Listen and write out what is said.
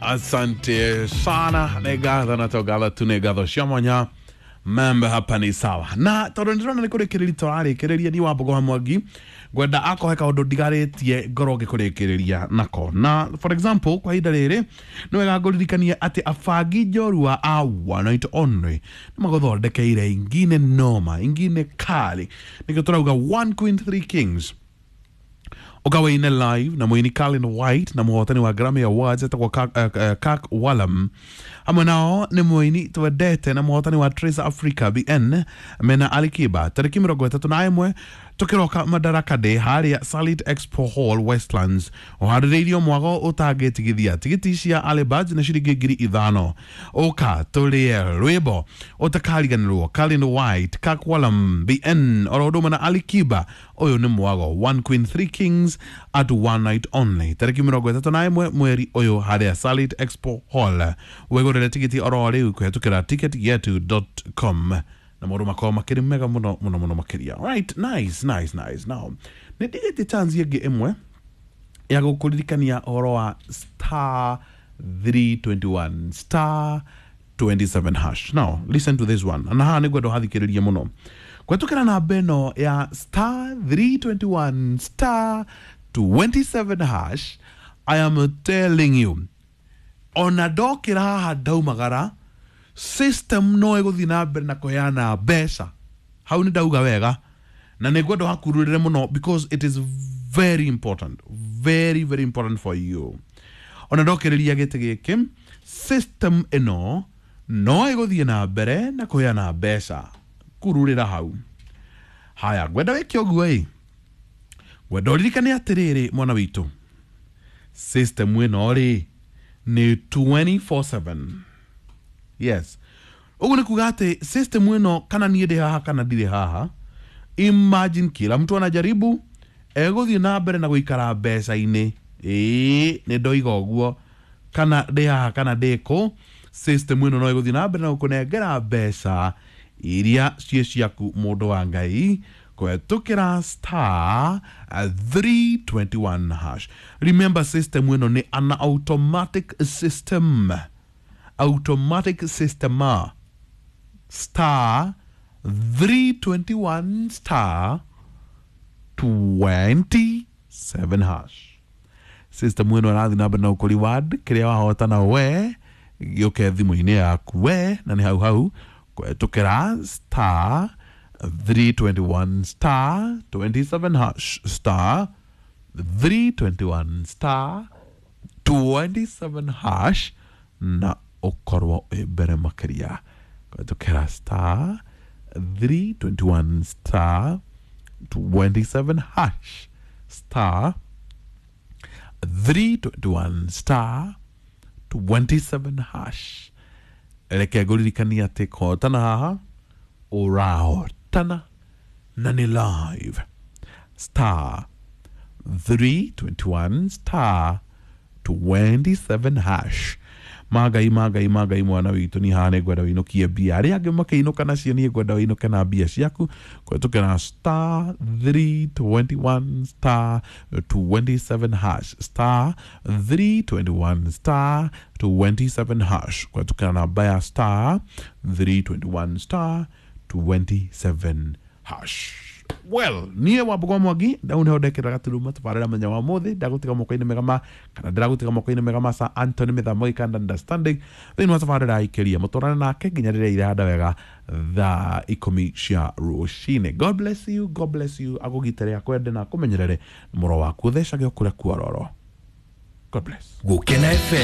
Asante sana, nĩ ngatho na to ngatho tu, nĩ ngatho cia mwanya. Mambo hapa ni sawa, na tondũ ndĩrona nĩ kũrĩkĩrĩria tũrarĩkĩrĩria, ni Wambogo wa Mwangi ngwenda akohe kaũndũ ndigarĩtie ngorwo ngĩkũrĩkĩrĩria nako. Na for example, kwa ihinda rĩrĩ nĩ wega ngũririkanie atĩ abangi njorua a One Night Only nĩ magũthondekeire ingine noma, ingine kali, nĩkĩo tũrauga One Queen Three Kings. Ũkawaine live na mũini Colin White na mũhotani wa Grammy Awards etagwo Kirk Whalum. Hamwe nao nĩ mũini twendete na mũhotani wa Trace Africa BN mena Alikiba, tarĩki 31 tũkĩroka Madaraka Day harĩa Salit Expo Hall, Westlands, ũharĩrĩirio mwago ũtangĩtigithia. Tigiti cia early birds nĩ ciringi 5,000. Ũka tũrĩe rwĩmbo ũtakariganĩrwo. Colin White, Kirk Whalum, BN oro ũndũ ũmwe na Alikiba. Ũyũ nĩ mwago One Queen Three Kings at One Night Only, tarĩki 31 mweri ũyũ harĩa Salit Expo Hall. Wĩgũrĩre tigiti oro rĩu kũhetũkĩra ticketyetu.com na maũndũ makorwo makĩrĩ mega mũno mũno mũno makĩria. Right, nice, nice, nice. Now nĩ ndigĩtie chance ĩngĩ ĩmwe ya gũkũririkania ũhoro wa star 321 star 27 hash. Now listen to this one, na haha nĩ ngwenda ũhathikĩrĩrie mũno. Kũhetũkĩra namba ĩno ya star 321 star 27 hash, I am telling you, ona ndokĩra haha ndaumagara, system no ĩgũthiĩ na mbere na kũheana mbeca. Hau nĩ ndauga wega na nĩ ngwenda ũhakururĩre mũno because it is very important, very very important for you. Ona ndokĩrĩria gĩtĩ gĩkĩ, system ĩno no ĩgũthiĩ na mbere na kũheana mbeca. Kururĩra hau. Haya, ngwenda wĩke ũguo ĩ, ngwenda ũririkane atĩrĩrĩ, mwana witũ, system ĩno rĩ nĩ 24/7. Yes, ũguo nĩ kuga atĩ system ĩno, kana niĩ ndĩ haha kana ndirĩ haha, imagine kila mtu anajaribu, egũthiĩ na mbere na gũikara mbeca-inĩ. Ĩĩ, nĩ ndoiga ũguo, kana ndĩ haha kana ndĩ kũ, system ĩno no ĩgũthiĩ na mbere na gũkũnengera mbeca iria ciĩ ciaku, mũndũ wa Ngai, kũhetũkĩra star 321 hash. Remember, system ĩno nĩ an automatic system, automatic system. Star 321 star 27 hash. System ĩno ĩrathiĩ na mbere na gũkũ reward kĩrĩa wahotana we gĩũke thimũ-inĩ yaku we, na nĩ hau hau kũhetũkĩra star 321 star 27 hash, star 321 star 27 hash, na ũkorwo wĩ mbere makĩria kũhetũkĩra star 321 star 27 hash, star 321 star 27 hash. Reke ngũririkanie atĩ kũhotana haha ũrahotana na nĩ live. Star 321 star 27 hash. Magai magai magai, mwana witũ, ni haha nĩ ngwenda wĩinũkie mbia. Arĩa angĩ makĩinũka nacio, niĩ ngwenda wĩinũke na mbia ciaku kũhetũkĩra star 321 star 27 hash, star 321 star 27 hash, kũhetũkĩra namba ya star 321 star 27 hash. Well, niĩ Wambugu wa Mwangi ndau nĩho ndekĩra gaturuma tabarĩra mũthenya wa mũthĩ. Ndagũtiga moko-inĩ mega ma, kana ndĩragũtiga moko-inĩ mega ma Sir Anthony Mĩthamo Gĩkanda Understanding thĩinĩ wa tabarĩra aikĩria mũtwarane nake nginya rĩrĩa irahanda wega thaa 10 cia rũcinĩ. God bless you, God bless you, agũgitĩre, akwende na akũmenyerere, mũro waku ũthecage o kũrĩa kuororo. God bless. Gũkena FM.